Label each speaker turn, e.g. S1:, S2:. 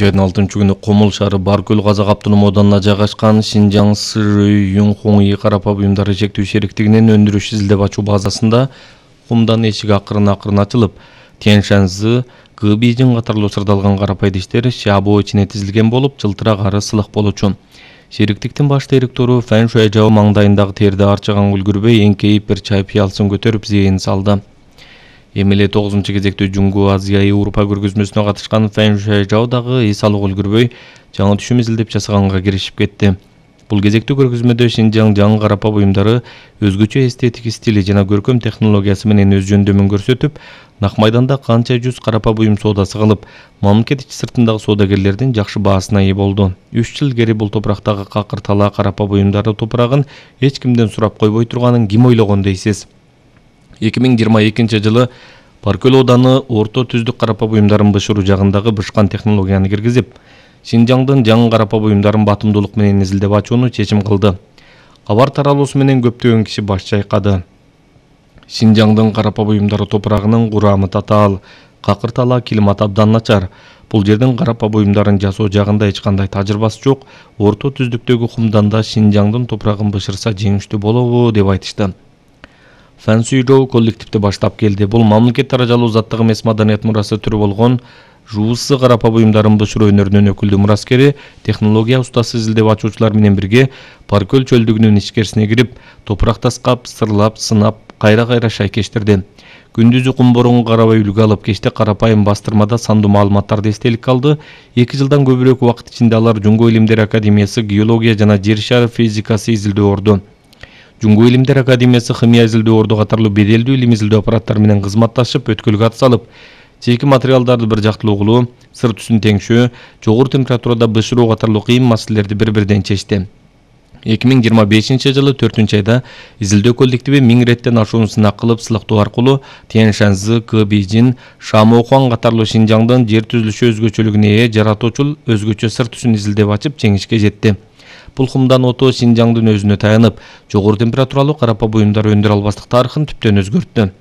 S1: Айдын 6-күнү Комул шаары Баркөл Казак автоном оданына жайгашкан Шинжаң Сырый Юнхоңи карапа буюмдары чектүү шериктигинин өндүрүш изилдеп ачуу базасында кумдан эшик акырын ачылып, Тяньшаньзы, Гыбийжин катарлуу сырдалган карапа идиштер шабоо ичине тизилген болуп, жылтырак ары сылык болчу. Шериктиктин баш директору Фэн Шуэжао маңдайындагы терди арчыган үлгүрбөй эңкейип бир чай пыялсын көтөрүп зейин салды. Эмеле 9-кезектүү Жунгу Азия Европа көргөзмөсүнө катышкан Фэн Шуэжао дагы эс алуу үлгүрбөй жаңы түшүм изилдеп жасаганга киришип кетти. Бул кезектүү көргөзмөдө Шинжаң жаңы карапа буюмдары өзгөчө эстетик стили жана көркөм технологиясы менен өз жөндөмүн көрсөтүп, Нак майданда канча жүз карапа буюм соодасы кылып, мамлекет ичи сыртындагы соодагерлердин жакшы баасына ээ болду. 3 жыл илгери бул топурактагы какыр талаа карапа буюмдары топурагын эч кимден сурап койбой турганын ким ойлогон дейсиз? 2022 жылы Баркөл ооданы орто түздүк карапа буюмдарын бышыруу жагындагы бышкан технологияны киргизип, Шинжаңдын жаңы карапа буюмдарын батымдуулук менен изилдеп ачууну чечим кылды. Кабар таралуусу менен көптөгөн киши баш чайкады. Шинжаңдын карапа буюмдары топурагынын курамы татаал, какыр талаа климат абдан начар. Бул жердин карапа буюмдарын жасоо жагында эч кандай тажрыйбасы жок. Орто түздүктөгү кумданда Шинжаңдын топурагын бышырса жеңиштүү болобу деп айтышты. Фэн Шуэжао коллективди баштап келди. Бул мамлекет даражалуу заттык эмес маданият мурасы түрү болгон жууссы карапа буюмдарын бышыруу өнөрүнүн өкүлдүү мураскери, технология устасы изилдеп ачуучулар менен бирге Баркөл чөлдүгүнүн ичкерисине кирип, топурак таскап, сырлап, сынап, кайра шайкештирди. Күндүзү кум борунга карабай үлгү алып, кечте карапайым бастырмада сандуу маалыматтарды эстеликке алды. 2 жылдан көбүрөөк убакыт ичинде алар Жунгу илимдер академиясы геология жана жер шары физикасы изилдөө орду, Жунгу илимдер академиясы химия изилдөө орду катарлуу беделдүү илим изилдөө аппараттары менен кызматташып, өткөлгө ат салып, чийки материалдарды бир жактылуу кылуу, сыр түсүн теңшөө, жогору температурада бышыруу катарлуу кыйын маселелерди бири-бирден чечти. 2025 жылы 4-айда изилдөө коллективи 1000 реттен ашуун сынак кылып, сылыктоо аркылуу Тяньшаньзы, Гыбийжин, Шамоохуан катарлуу Шинжаңдын жер түзүлүшү өзгөчөлүгүнө ээ жаратуучул өзгөчө сыр түсүн изилдеп ачып, жеңишке жетти. Бул кумдан ото Шинжаңдын өзүнө таянып, жогору температуралуу карапа буюмдар өндүрө албастык тарыхын түптөн өзгөрттү.